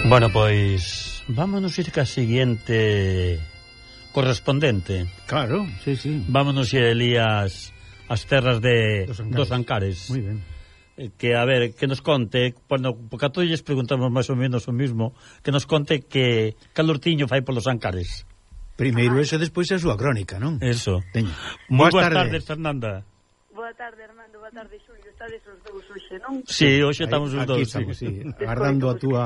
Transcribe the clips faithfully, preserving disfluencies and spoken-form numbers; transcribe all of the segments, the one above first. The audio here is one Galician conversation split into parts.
Bueno, pois vámonos ir ca seguinte correspondente. Claro, sí, sí. Vámonos ir, Elías, as terras de Dos Ancares. dos Ancares. Muy ben. Que, a ver, que nos conte, bueno, porque a todos lles preguntamos máis ou menos o mismo, que nos conte que calortiño fai polos Ancares. Primeiro eso, despois a súa crónica, non? Eso. Teño. Moi Boas boas tardes, tardes, Fernanda. Boa tarde, Armando, boa tarde, Xulio. Estades os dous hoxe, non? Sí, hoxe estamos os Aquí dous. estamos, sí. sí, agardando a túa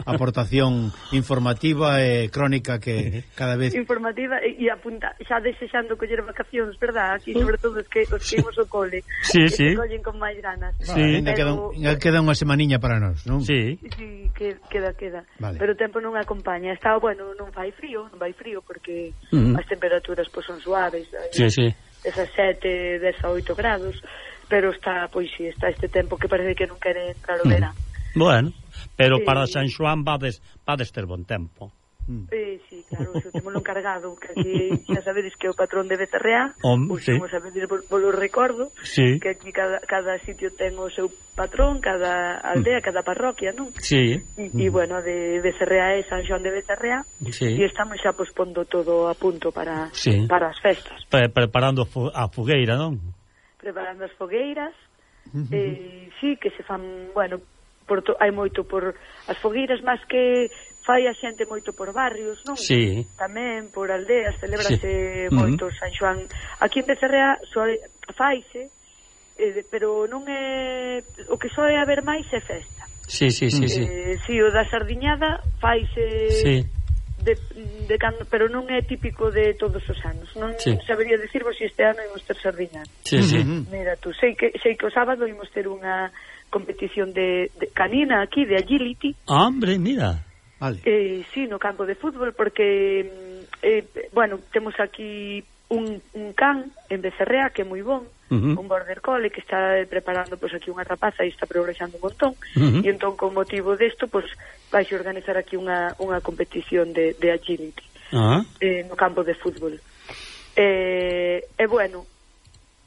aportación informativa e crónica que cada vez... Informativa e, e apunta, xa desexando coller vacacións, verdad? Aquí, sobre todo, os que, os que imos ao cole. Sí, que sí. se collen con máis ganas. Sí. Ainda queda, Pero- ainda queda unha semaniña para nós, non? Sí. Sí, que, queda, queda. Vale. Pero o tempo non acompaña. Está, bueno, non fai frío, non vai frío, porque Uh -huh. as temperaturas pois, son suaves. Sí, sí. dezasete, dezaoito grados. Pero está, pois sí, está este tempo que parece que non quere entrar o Mm. verán. Bueno, pero Sí. para San Xoán vades, vades ter bon tempo. Eh, sí, claro, eso temos lo encargado, que aquí xa sabedes que é o patrón de Becerreá, Hom, pois sí. como sabedes polo recordo, Sí. que aquí cada, cada sitio ten o seu patrón, cada aldea, cada parroquia, non? Sí. E, e bueno, de Becerreá é San Xoán de Becerreá, Sí. e estamos xa pospondo todo a punto para, Sí. para as festas, Pre preparando fu- a fogueira, non? preparando as fogueiras, eh, sí, que se fan, bueno, por to, hai moito por as fogueiras, máis que fai a xente moito por barrios, non? Sí. Tamén por aldeas, celébrase Sí. moito Uh -huh. San Xoán. Aquí en Becerrea só faise, eh, pero non é o que só é haber máis é festa. Sí, sí, sí, sí. Eh, sí, o da sardiñada faise Sí. de, de cando, pero non é típico de todos os anos. Non Sí. sabería dicirvos se este ano imos ter sardiñada. Sí, sí. Uh -huh. Mira tú, sei que sei que o sábado imos ter unha competición de, de canina aquí de agility. Hombre, mira. Vale. Eh, sí, no campo de fútbol, porque eh, bueno, temos aquí un, un can en Becerrea que é moi bon, Uh -huh. un border collie que está preparando pois aquí unha rapaza e está progresando un montón. Uh -huh. E entón con motivo desto pois vais organizar aquí unha, unha competición de, de agility Ah. eh, no campo de fútbol. Eh, e bueno,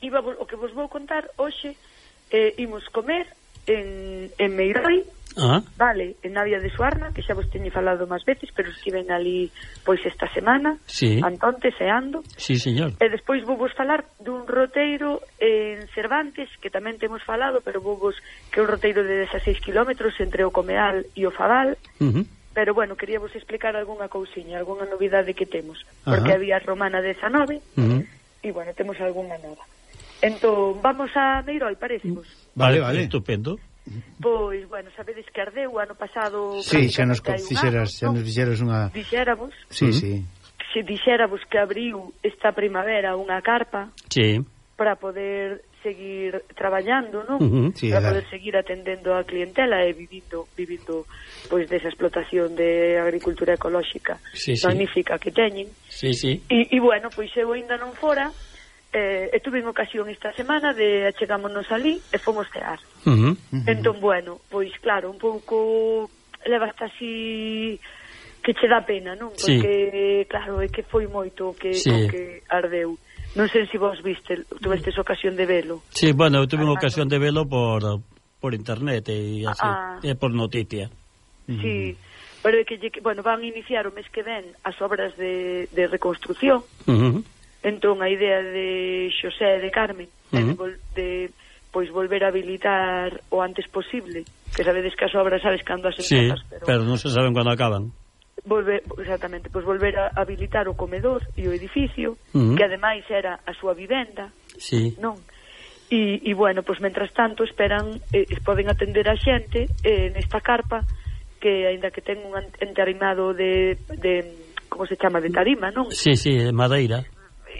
iba, o que vos vou contar hoxe, eh, imos comer en, en Meiroi, Ah. vale, en Navia de Suarna, que xa vos teño falado máis veces, pero estiven ali pois esta semana, Sí. Antonte, seando, Sí, señor. e despois vou vos falar dun roteiro en Cervantes, que tamén temos falado, pero vou vos, que é un roteiro de dezaseis kilómetros entre o Comeal e o Fadal, Uh -huh. pero bueno, quería vos explicar algunha cousiña, algunha novidade que temos, Ajá. porque había Romana dezanove, Uh -huh. e bueno, temos algunha nova. Entón, vamos a Meiroi, parecemos? Vale, vale. Estupendo. Pois, bueno, sabedes que ardeu o ano pasado. Sí, xa nos prácticamente hai un fixeras, ano, xa non? nos fixeras unha... Dixéramos, Sí, Uh-huh. sí. se dixéramos que abriu esta primavera unha carpa Sí. para poder seguir traballando, non? Uh -huh. Sí, Para dar. poder seguir atendendo a clientela e vivindo vivindo pois desa explotación de agricultura ecolóxica Sí, sí. magnífica que teñen. Sí, sí. E, e bueno, pois eu ainda non fora, eh, e tuve ocasión esta semana de achegámonos ali e fomos cear. Uh -huh. Entón, bueno, pois claro, un pouco levaste así que che dá pena, non? Sí. Porque, claro, é que foi moito o que, Sí. o que ardeu. Non sei se vos viste, tuvestes ocasión de velo. Sí, bueno, eu tuve unha Armando. ocasión de velo por por internet e así, Ah. e por noticia. Sí, pero é que, lle- bueno, van a iniciar o mes que ven as obras de, de reconstrucción. Uh -huh. Entón, a idea de Xosé e de Carmen é de, Ujú. vol, de pois volver a habilitar o antes posible, que sabedes que as obras sabes cando as Sí, empezas, pero, pero non se saben cando acaban. volver, exactamente, pois volver a habilitar o comedor e o edificio, Ujú. que ademais era a súa vivenda, Sí. non? E, e bueno, pois mentras tanto esperan, eh, poden atender a xente eh, nesta carpa que aínda que ten un an- entarimado de, de como se chama, de tarima, non? Sí, sí, de madeira.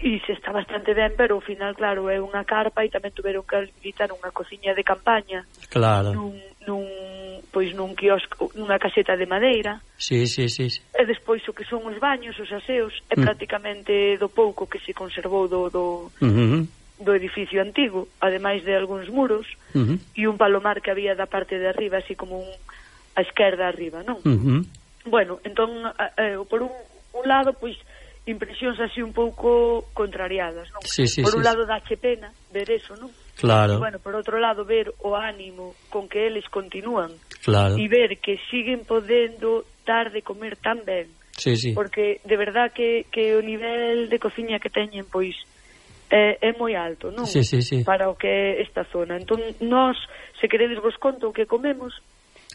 E se está bastante ben, pero ao final, claro, é unha carpa e tamén tuveron que habilitar unha cociña de campaña Claro. nun, nun, pois nun quiosco, nunha caseta de madeira, Sí, sí, sí, sí. e despois o que son os baños, os aseos, é Mm. prácticamente do pouco que se conservou do, do, Uh -huh. do edificio antigo, ademais de algúns muros, Uh -huh. e un palomar que había da parte de arriba, así como un, a esquerda arriba, non? Uh -huh. Bueno, entón, eh, por un, un lado, pois, impresións así un pouco contrariadas, non? Sí, sí, por sí, un lado dache pena ver eso, non? Claro, E, bueno, por outro lado ver o ánimo con que eles continúan claro. e ver que siguen podendo dar de comer tan ben. Sí, sí. Porque de verdad que, que o nivel de cociña que teñen, pois, é, é moi alto, non? Sí, sí, sí. Para o que é esta zona. Entón, nós, se queredes vos conto o que comemos,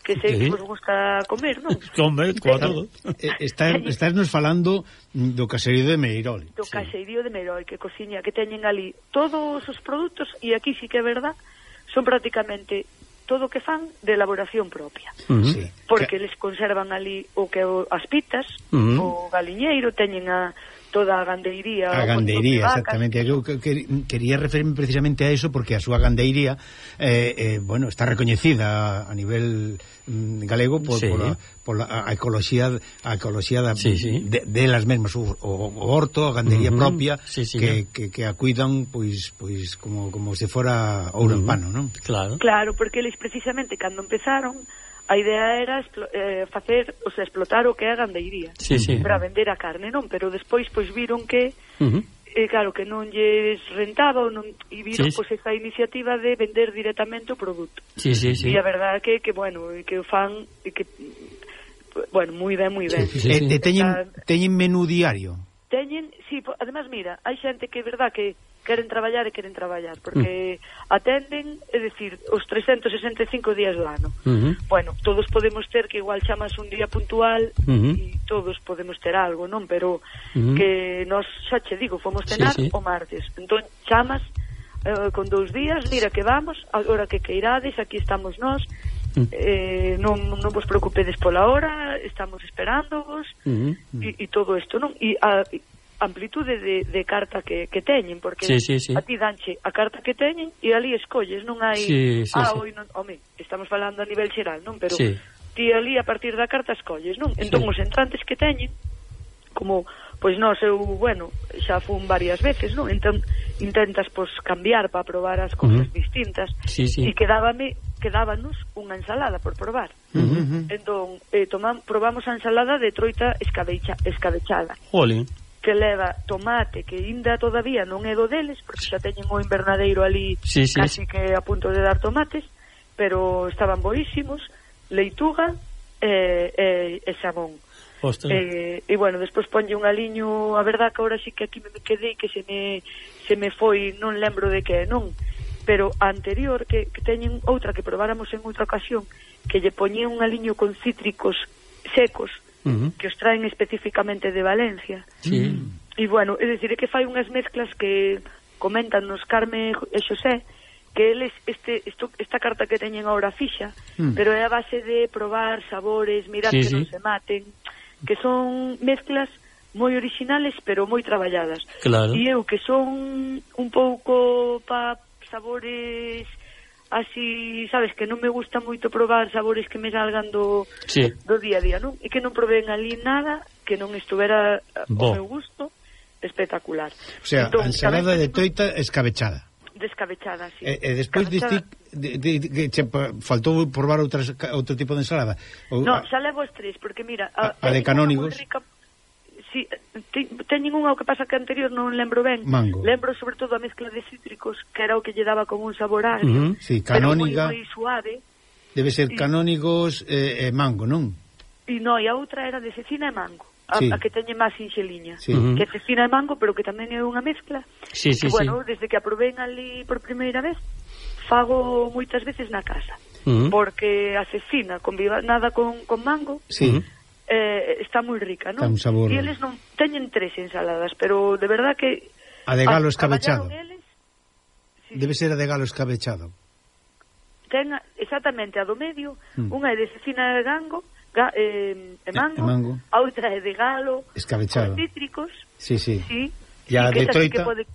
que sei Sí. que vos gusta comer, non? Comer, coa todo. Está, estás nos falando do caserío de Meirol. Do caserío de Meirol, que cociña, que teñen ali todos os produtos, e aquí sí que é verdad, son prácticamente todo o que fan de elaboración propia. Uh -huh. Sí. Porque les conservan ali o que o, as pitas, Uh -huh. o galiñeiro, teñen a toda a gandeiría. A gandeiría, exactamente. Eu que, que, quería referirme precisamente a eso porque a súa gandeiría eh, eh, bueno, está recoñecida a, a nivel mm, galego por, sí. por, a, por a, a ecoloxía a ecoloxía da, sí, sí. de, de las mesmas, o, o, o horto, a gandería uh -huh. propia sí, sí, que, que, que a cuidan pois pois como como se fora ouro uh -huh. en pano, non? Claro. Claro, porque eles precisamente cando empezaron a idea era eh, facer, o sea, explotar o que é a gandeiría, sí, sí. para vender a carne, non? Pero despois pois viron que uh -huh. eh, claro, que non lles rentaba non, e viron sí, pois esa iniciativa de vender directamente o produto. Sí, sí, sí. E a verdade que que bueno, que o fan e que bueno, moi ben, moi ben. Sí, sí, sí. E, e teñen teñen menú diario. Teñen, sí, además mira, hai xente que é verdad que queren traballar e queren traballar, porque mm. atenden, é dicir, os trescentos sesenta e cinco días do ano. Uh -huh. Bueno, todos podemos ter que igual chamas un día puntual e uh -huh. todos podemos ter algo, non? Pero uh -huh. que nos, xa che digo, fomos cenar sí, sí. o martes. Entón, chamas eh, con dous días, mira que vamos, agora que queirades, aquí estamos nós, uh -huh. eh, non, non vos preocupedes pola hora, estamos esperándovos, uh -huh. e, e todo isto, non? E a amplitude de, de carta que, que teñen, porque sí, sí, sí. a ti danche a carta que teñen e ali escolles, non hai sí, sí, ah, sí. oi non, home, estamos falando a nivel xeral, non? Pero sí. ti ali a partir da carta escolles, non? Entón sí. os entrantes que teñen, como, pois nós, eu, bueno, xa fun varias veces, non? Entón intentas, pois, cambiar para probar as cousas uh -huh. distintas, sí, sí. e quedábame quedábanos unha ensalada por probar. Uh -huh. Entón, eh, tomam, probamos a ensalada de troita escabecha, escabechada. Jolín. Que leva tomate, que ainda todavía non é do deles, porque xa teñen o invernadeiro ali sí, sí, casi sí. que a punto de dar tomates, pero estaban boísimos, leituga e, e, e xamón. E, e bueno, despois ponlle un aliño, a verdad que agora sí que aquí me quedei, que se me, se me foi, non lembro de que non, pero a anterior, que, que teñen outra que probáramos en outra ocasión, que lle poñía un aliño con cítricos secos, Uh -huh. que os traen especificamente de Valencia. Sí. E bueno, é dicir, é que fai unhas mezclas que comentan nos Carme e Xosé, que eles este esto, esta carta que teñen agora fixa, mm. pero é a base de probar sabores, mirar sí, que sí. non se maten, que son mezclas moi originales, pero moi traballadas. Claro. E eu que son un pouco pa sabores así, sabes, que non me gusta moito probar sabores que me salgan do, sí. do día a día, non? E que non proveen ali nada que non estuvera Bo. ao meu gusto espectacular. O sea, entón, a ensalada de toita escabechada. Descabechada, sí. E, e despois diste de, de, de, de, de, faltou probar outras, outro tipo de ensalada? O, no, xa levo os tres, porque mira... A, a, a de canónigos... Sí, te, teñen unha, o que pasa que anterior non lembro ben. Mango. Lembro sobre todo a mezcla de cítricos, que era o que lle daba como un sabor agrio, uh -huh. sí, canóniga, pero moi, moi suave. Debe ser y, canónigos e eh, eh, mango, non? E non, e a outra era de cecina e mango, a, sí. a que teñe máis inxeliña, sí. que é cecina e mango, pero que tamén é unha mezcla. Sí, sí, que, bueno, sí. desde que a probén ali por primeira vez, fago moitas veces na casa, uh -huh. porque a cecina combinada con, con mango... Sí. Uh -huh. Eh, está moi rica, non? Sabor... E eles non teñen tres ensaladas, pero de verdad que a de galo escabechado. Eles, sí, debe ser a de galo escabechado. Ten exactamente a do medio, mm. unha é de cecina e gango, ga, eh, e mango, e mango, a outra é de galo escabechado. con cítricos. Sí, sí. Sí. E a de troita pode...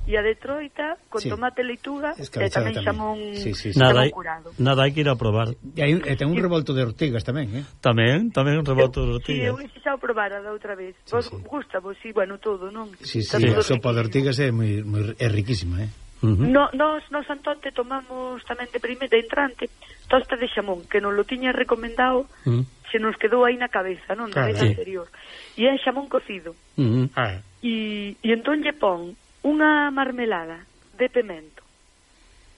e a de troita con sí. tomate, leituga e tamén xamón, sí, sí, sí. Nada, curado. Nada hai que ir a probar. E hai, e ten un revolto de ortigas tamén, eh? Tamén, tamén un revolto de ortigas. Si, sí, eu deixaba probar a da outra vez. Sí, vos sí. gusta, vos, si, sí, bueno, todo, non? Si, sí, sí, a sopa de ortigas é moi, moi é riquísima, eh? Uh -huh. No, nos, nos Antonte tomamos tamén de primeira de entrante tosta de xamón, que nos lo tiña recomendado, uh -huh. se nos quedou aí na cabeza, non? Da claro, vez sí. anterior. E é xamón cocido. Uh -huh. ah. E, e entón lle pon unha marmelada de pemento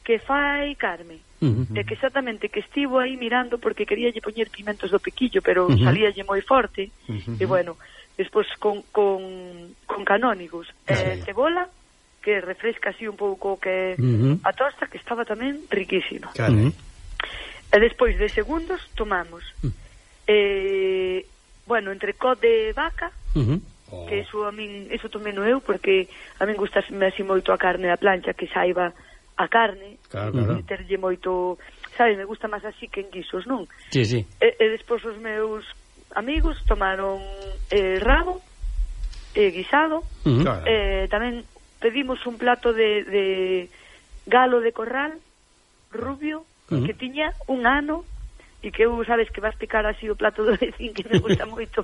que fai Carme, Uh -huh. E que exactamente que estivo aí mirando porque quería lle poñer pimentos do piquillo, pero uh -huh. salíalle moi forte. Uh -huh. E bueno, despois con, con, con canónigos e uh -huh. cebola, que refresca así un pouco que uh -huh. a tosta, que estaba tamén riquísima. Claro. Uh -huh. E despois de segundos tomamos uh -huh. eh, bueno, entrecot de vaca, uh -huh. oh. que eso a min, eso tomeno eu porque a min gustame así moito a carne da plancha, que saiba a carne, claro, claro. meterlle moito, sabes, me gusta máis así que en guisos, non? Sí, sí. E, e despois os meus amigos tomaron eh, rabo eh, guisado, uh -huh. claro. eh, tamén pedimos un plato de, de galo de corral rubio, uh -huh. que tiña un ano, e que eu, sabes, que vas picar así o plato do vecín, que me gusta moito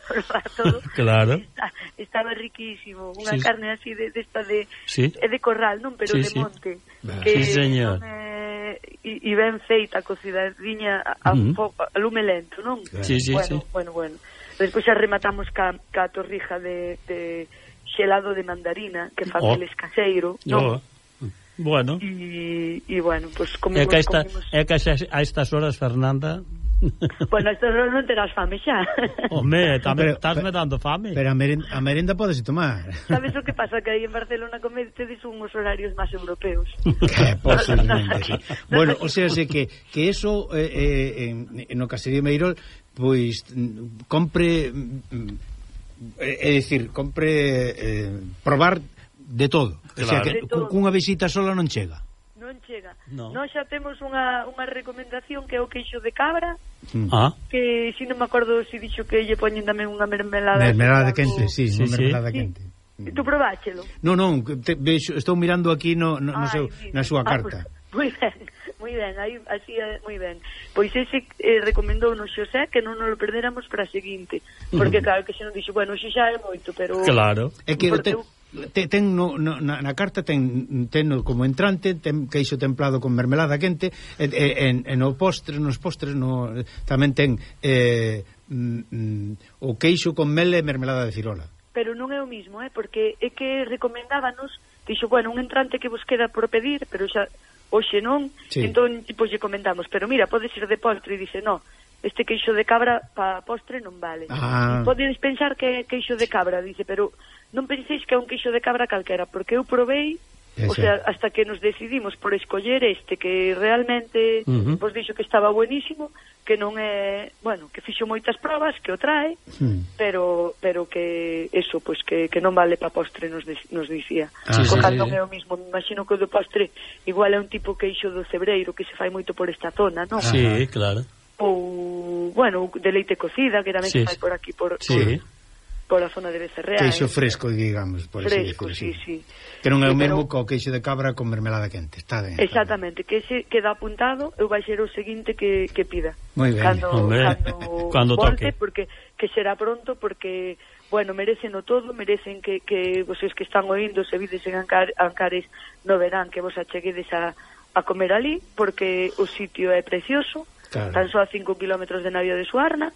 probar todo. Claro. Está, estaba riquísimo, unha sí, carne así de, de esta de, sí. de corral, non, pero sí, de sí. monte. Bah. Que sí, señor. E eh, ben feita, cocidadiña a, a, uh -huh. a lume lento, non? Sí, sí, bueno, sí. bueno, bueno. Despois xa rematamos ca, ca torrija de, de xelado de mandarina, que fa oh. Feles caseiro, non? Oh. Bueno. E, e bueno, pues comimos... É que, esta, comimos... é que a estas horas, Fernanda... Bueno, a estas horas non terás fame xa. Home, estás me dando fame. Pero a merenda, a merenda podes tomar. Sabes o que pasa? Que aí en Barcelona cometedes unhos horarios máis europeos. Que posiblemente, sí. Bueno, o sea, sé que, que eso eh, eh, en, no Caserío Meirol, pois compre... É dicir, compre eh, probar de todo. Claro. O sea, que cunha visita sola non chega. Non chega. No. Nós xa temos unha, unha recomendación que é o queixo de cabra, mm. ah. que si non me acordo se dixo que lle poñen tamén unha mermelada. Mermelada quente, sí, sí, unha sí. mermelada sí. quente. E tú probáchelo? Non, non, te, vexo, estou mirando aquí no, no, no seu, na súa carta. Ah, pues, moi ben, moi ben, aí, así, moi ben. Pois ese eh, recomendou no Xosé que non nos lo perderamos para a seguinte, porque uh -huh. claro que se non dixo, bueno, xe xa é moito, pero... Claro. É que te, te, ten no, no, na, na carta ten, ten como entrante, ten queixo templado con mermelada quente, e, e, en, en o postre, nos postres no, tamén ten eh, mm, o queixo con mel e mermelada de cirola. Pero non é o mismo, eh, porque é que recomendábanos, dixo, bueno, un entrante que vos queda por pedir, pero xa hoxe non, sí. Entón, pois lle comentamos, pero mira, pode ser de postre, e dice, no, este queixo de cabra para postre non vale. Ah. Podedes pensar que é queixo de cabra, dice, pero non penséis que é un queixo de cabra calquera, porque eu provei, ese. O sea, hasta que nos decidimos por escoller este, que realmente, uh -huh. vos dixo que estaba buenísimo, que non é, bueno, que fixo moitas probas, que o trae, uh-huh. pero pero que eso, pois pues, que, que non vale para postre, nos, de, nos dicía. Ah, sí, sí, non é o mismo, me imagino que o do postre igual é un tipo queixo do cebreiro que se fai moito por esta zona, non? Sí, claro. Ou, bueno, de leite cocida, que tamén sí. se fai por aquí, por... Sí. por por a zona de Becerrea. Queixo eh? fresco, digamos, por fresco, así decir, sí, sí. Que non é o sí, mesmo pero... co queixo de cabra con mermelada quente, está ben. Exactamente, que ese queda apuntado, eu vai ser o seguinte que, que pida. Moi ben. Cando, cando, cando volte, toque. Porque, que será pronto, porque, bueno, merecen o todo, merecen que, que vocês que están oindo, se vides en Ancar, Ancares, no verán que vos acheguedes a, a comer ali, porque o sitio é precioso, claro. Tan só a cinco kilómetros de navio de Suarna,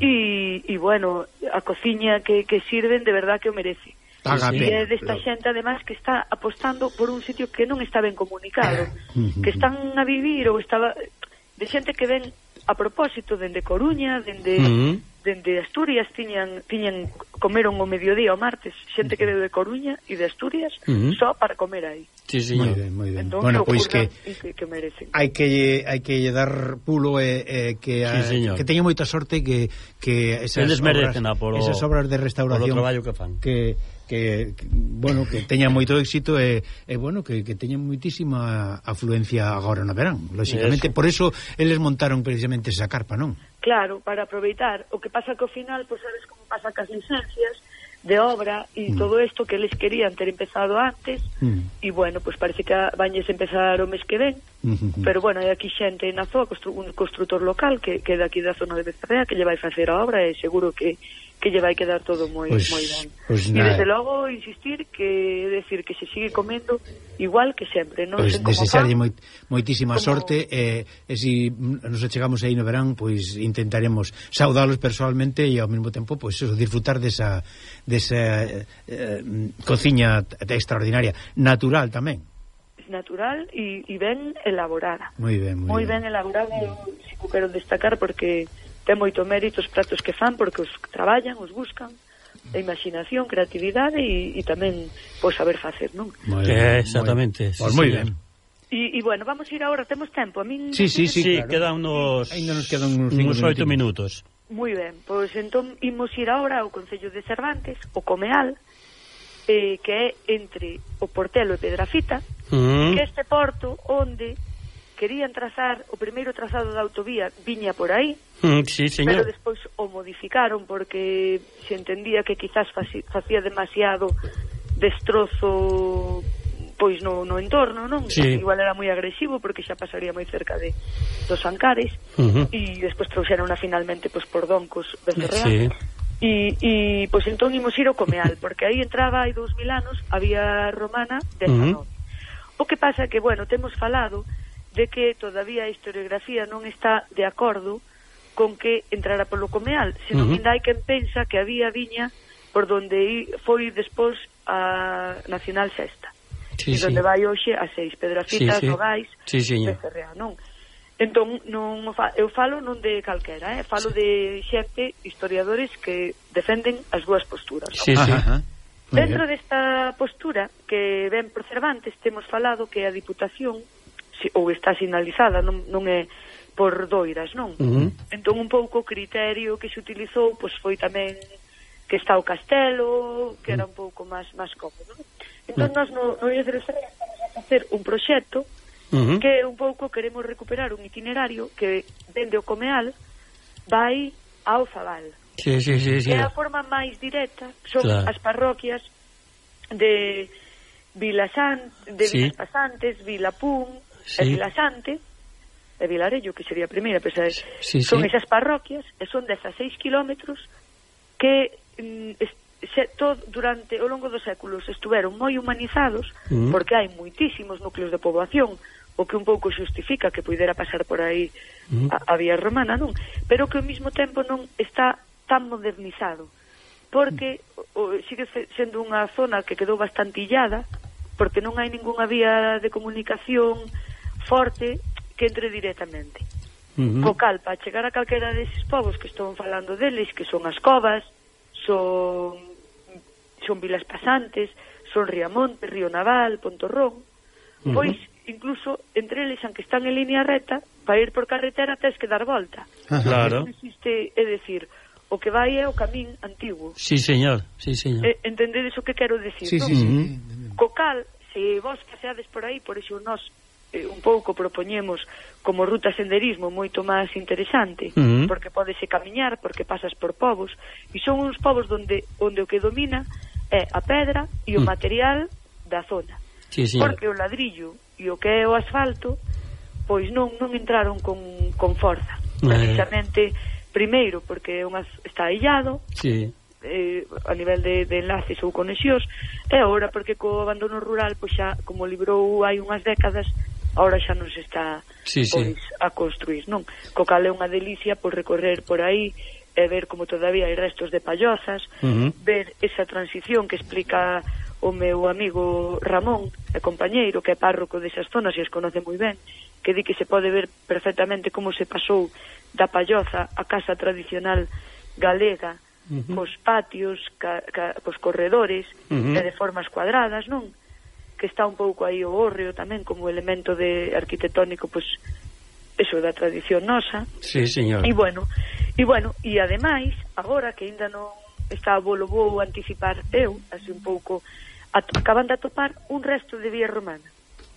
e, e bueno, a cociña que, que sirven de verdad que o merece. Paga e é desta xente además que está apostando por un sitio que non está ben comunicado, que están a vivir ou estaba de xente que ven a propósito dende Coruña, dende uh -huh. dende Asturias, tiñan tiñan comeron o mediodía o martes, xente que veu de Coruña e de Asturias uh -huh. só para comer aí. Sí, sí, moi ben, moi ben. Entón, bueno, pois pues que, que que merecen. Hai que hai que dar pulo e eh, que sí, a, que teña moita sorte que que esas obras, polo, esas obras de restauración que fan. Que Que, que bueno, que teña moito éxito e, e bueno, que, que teña moitísima afluencia agora no verán, lógicamente, eso. Por eso eles montaron precisamente esa carpa, non? Claro, para aproveitar, o que pasa que ao final, pois pues, sabes como pasa cas licencias de obra e mm. todo isto que eles querían ter empezado antes mm. e bueno, pois pues parece que vañes empezar o mes que ven, mm -hmm. pero bueno, hai aquí xente na zoa, constru, un construtor local que, que é daqui da zona de Becerrea, que lle vai facer a obra e seguro que que lle vai quedar todo moi pues, moi ben. Pues e desde logo insistir que decir que se sigue comendo igual que sempre, non pues, sei como desexarlle moi, moitísima como... sorte e, e se si nos chegamos aí no verán, pois pues, intentaremos saudalos personalmente e ao mesmo tempo pois pues, eso, disfrutar desa desa eh, cociña extraordinaria, natural tamén. natural e, e ben elaborada. Moi ben, moi, moi ben. ben elaborada, eu si o quero destacar porque ten moito mérito os pratos que fan, porque os traballan, os buscan, a imaginación, creatividade e, e tamén pois saber facer, non? Moi ben, exactamente. Pois moi ben. E, e bueno, vamos a ir agora, temos tempo. A min Sí, sí, sí, sí, claro. quedan unos Ainda nos quedan uns cinco uns oito minutos. Moi ben, pois entón imos ir agora ao Concello de Cervantes, o Comeal, eh, que é entre o Portelo e Pedrafita, Mm. que este porto onde querían trazar o primeiro trazado da autovía viña por aí, Mm, sí, señor. pero despois o modificaron porque se entendía que quizás faci, facía demasiado destrozo pois no, no entorno, non? Sí. Igual era moi agresivo porque xa pasaría moi cerca de dos Ancares Uh-huh. e despois trouxeron finalmente pois por Doncos Becerreal. Sí. E, e pois entón imos ir ao Comeal porque aí entraba hai dous mil anos a vía romana dezanove. Uh-huh. O que pasa que, bueno, temos falado de que todavía a historiografía non está de acordo con que entrara polo Comeal, senón uh-huh. ainda hai quen pensa que había viña por donde foi despois a Nacional Sexta. Sí, e donde sí. vai hoxe a seis Pedrafitas, sí, sí. Nogais, sí, Becerreá, non? Entón, non fa, eu falo non de calquera, eh? Falo sí. de xente, historiadores que defenden as dúas posturas, non? Sí, sí. Ajá. Dentro desta postura que ven por Cervantes temos falado que a Diputación si, ou está sinalizada, non, non é por doiras, non? Uh-huh. Entón un pouco o criterio que se utilizou pois foi tamén que está o castelo, que era un pouco máis máis cómodo, non? Entón, nós no, no I E D R C estamos a facer un proxecto uh-huh. que un pouco queremos recuperar un itinerario que dende o Comeal vai ao Zabal. Sí, sí, sí, sí. Que é a forma máis directa, son claro. as parroquias de Vilasant, de sí. Vilas Pasantes, Vilapún, sí. e Vilasante, e Vilarello, que sería a primeira, pero sí, son sí. esas parroquias, e son dezaseis kilómetros que mm, se, todo, durante o longo dos séculos estuveron moi humanizados, mm. porque hai moitísimos núcleos de poboación, o que un pouco xustifica que puidera pasar por aí mm. a, a vía romana, non? Pero que ao mesmo tempo non está tan modernizado, porque o, sigue sendo unha zona que quedou bastante illada, porque non hai ningunha vía de comunicación forte que entre directamente. Uh-huh. Co cal, para chegar a calquera deses povos que estón falando deles, que son as covas, son son Vilas Pasantes, son Riamonte, Río Naval, Pontorrón, uh-huh. pois incluso entre eles, aunque están en línea recta, para ir por carretera tens que dar volta. Claro. Non existe, é decir, o que vai é o camín antigo. Sí, señor, sí, señor. Eh, entendedes o que quero decir, sí, non? Sí, sí, uh-huh. sí. Co cal, se vos paseades por aí, por iso nós eh, un pouco propoñemos como ruta senderismo moito máis interesante, uh-huh. porque podese camiñar, porque pasas por povos, e son uns povos onde, onde o que domina é a pedra e o uh-huh. material da zona. Sí, porque o ladrillo e o que é o asfalto pois non non entraron con, con forza, precisamente eh. primeiro porque unha, está illado, sí. eh, a nivel de, de enlaces ou conexións, e agora porque co abandono rural pois xa, como librou hai unhas décadas, agora xa non se está sí, pois, sí. a construir, non? Co cal é unha delicia por recorrer por aí e ver como todavía hai restos de pallozas, uh-huh. ver esa transición que explica o meu amigo Ramón, e compañeiro, que é párroco desas zonas e as conoce moi ben, que di que se pode ver perfectamente como se pasou da palloza a casa tradicional galega, uh-huh. cos patios, ca, ca, cos corredores, uh-huh. e de formas cuadradas, non? Que está un pouco aí o hórreo tamén como elemento de arquitectónico, pois, eso da tradición nosa. Sí, señor. E bueno, e bueno, e ademais, agora que ainda non está volo vou anticipar eu, así un pouco, acaban de atopar un resto de vía romana.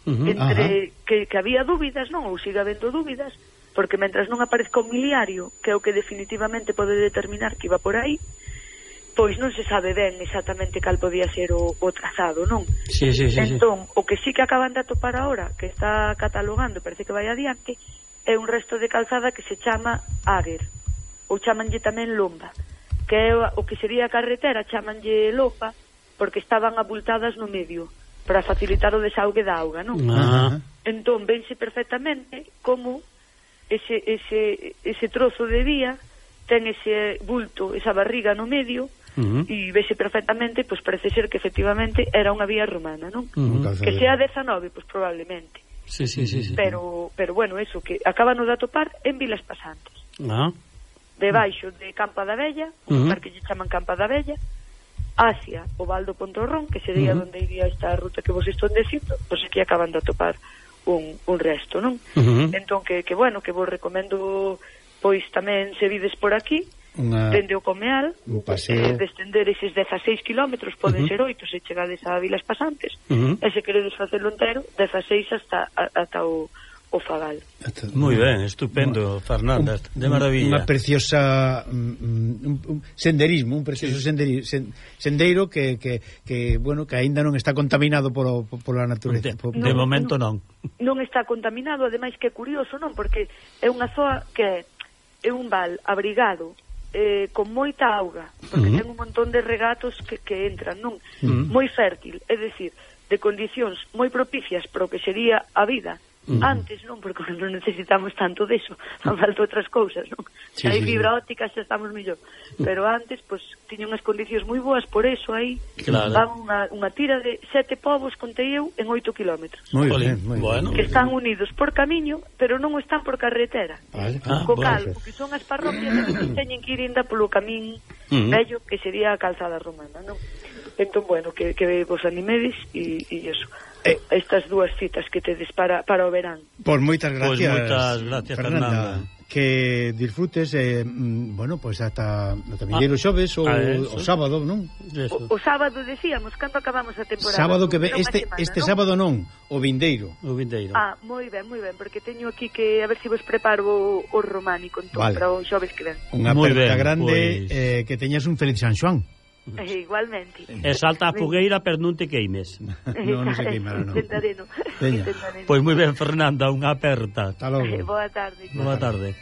Uh-huh. Entre que, que había dúbidas, non? Ou siga habendo dúbidas, porque mentras non aparezca un miliario, que é o que definitivamente pode determinar que iba por aí, pois non se sabe ben exactamente cal podía ser o, o trazado, non? Sí, sí, sí, entón, sí. o que sí que acaban de atopar agora, que está catalogando, parece que vai adiante, é un resto de calzada que se chama Águer, ou chamanlle tamén Lomba, que é o que sería a carretera, chamanlle Lopa, porque estaban abultadas no medio, para facilitar o desaugue da auga, non? Ah. Entón, vense perfectamente como ese, ese, ese trozo de vía ten ese bulto, esa barriga no medio, uh -huh. e vese perfectamente, pois parece ser que efectivamente era unha vía romana, non? Uh -huh. Que sea dezanove, pois probablemente. Sí, sí, sí, sí. Pero, pero bueno, eso, que acaban de atopar en Vilas Pasantes. Ah. Debaixo de Campa da Vella, un uh -huh. lugar que lle chaman Campa da Vella, hacia o Val do Pontorrón, que sería uh -huh. onde iría esta ruta que vos estou dicindo, pois aquí acaban de atopar un, un resto, non? Uh -huh. Entón, que, que bueno, que vos recomendo, pois tamén se vides por aquí, Una... dende o Comeal, un paseo, eh, descender eses dezaseis kilómetros, poden uh -huh. ser oito se chegades a Vilas Pasantes, uh -huh. e se queredes facelo entero, dezaseis hasta, a, ata o o Fagal. Moi ben, estupendo, Fernanda, un, de maravilla. Unha preciosa um, un, un senderismo, un precioso sí. senderi, sen, sendeiro que, que, que, bueno, que aínda non está contaminado por, por, por a natureza. De, por, de no, momento non. Non está contaminado, ademais que é curioso, non? Porque é unha zoa que é un val abrigado, eh, con moita auga, porque uh -huh. ten un montón de regatos que, que entran, non? Uh -huh. Moi fértil, é dicir, de condicións moi propicias para o que sería a vida. Uh -huh. Antes non, porque non necesitamos tanto deso, fan falta outras cousas, non? Sí, hai fibra sí, óptica, xa estamos mellor. Pero antes, pois, pues, tiña unhas condicións moi boas, por eso aí claro. van unha, unha tira de sete povos, contei eu, en oito kilómetros. Moi ben, moi bueno. Que están unidos por camiño, pero non están por carretera. Vale. Ah, Co cal, o que son as parroquias, teñen que ir inda polo camín uh -huh. vello, que sería a calzada romana, non? Entón, bueno, que, que vos animedes e, e eso. Eh, estas dúas citas que tedes para, para o verán. Por moitas gracias, pues moitas gracias Fernanda. Fernanda. Que disfrutes, eh, bueno, pois pues ata o vindeiro ah, xoves ou o sábado, non? O, o sábado decíamos, cando acabamos a temporada? Sábado que ve, este, semana, este ¿no? sábado non, o vindeiro. O vindeiro. Ah, moi ben, moi ben, porque teño aquí que a ver se si vos preparo o, o románico entón, vale. para o xoves que ven. Unha aperta grande, pues... eh, que teñas un feliz San Xoán. Eh, igualmente. E salta a fogueira, pero non te queimes. Non, non se queimara, non. Intentaré, non. Pois moi ben, Fernanda, unha aperta. Hasta logo. Eh, boa tarde. Boa tarde.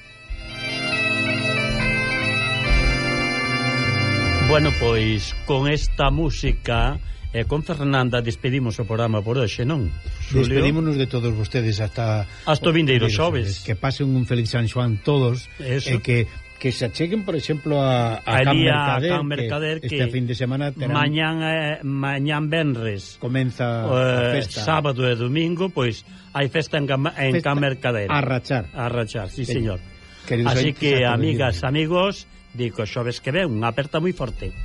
Bueno, pois, con esta música e eh, con Fernanda despedimos o programa por hoxe, non? Xulio? Despedímonos de todos vostedes hasta... Hasta o vindeiro xoves. Que pasen un feliz San Xoán todos. Eso. E que... que se acheguen, por exemplo, a, a Can Mercader, Can Mercader que, que este fin de semana terán... mañán, eh, mañán venres comeza eh, a festa, sábado e domingo, pois hai festa en, en festa Can Mercader a rachar, a rachar, sí, sí señor. Queridos así que, amigas, amigos, digo, xoves que ven, unha aperta moi forte.